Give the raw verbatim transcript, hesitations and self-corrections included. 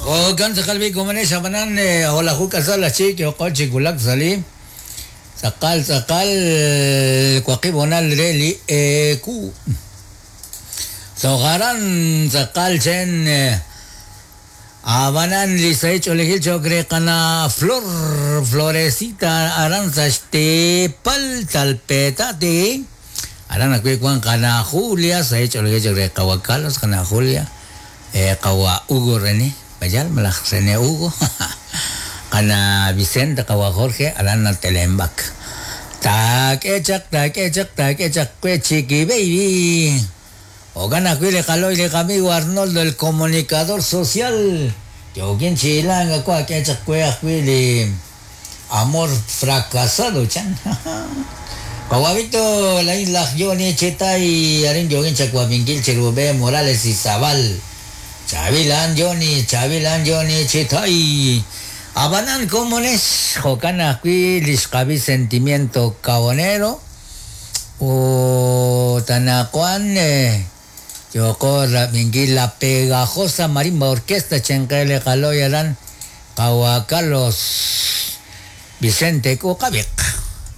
Okan tz'aqal komonex abanan hola juka sala chi yoqo chikulak sali tz'aqal tz'aqal waqib' honal re li eku sojaran tz'aqal chen abanan li saich olegil chokre qana flor florecita aranza xtepal talpetate aran akwi kwan qana Julia saich olegil chokre qawa Carlos qana Julia eh qawa Hugo René Bayal malaj René Hugo qana Vicente qawa Jorge aran telembak tak echak tak echak tak echak kwe chiqui baby Ogana le caloy le amigo Arnoldo el comunicador social Yogin chilanga kwa que echak kwe li amor fracasado chan Kawabito la isla Johnny Chetay arin yogin chakwabingil Cherubé Morales y Zabal Chavilan Johnny, Chavilan Johnny, Chetay. Abanan comunes, Jocana kui, Lishkabi sentimiento cabonero. O Tanacuan, Yoko Rabingui, la pegajosa marimba orquesta, Chenkele Caloyaran, Kawa Carlos Vicente Kukabik.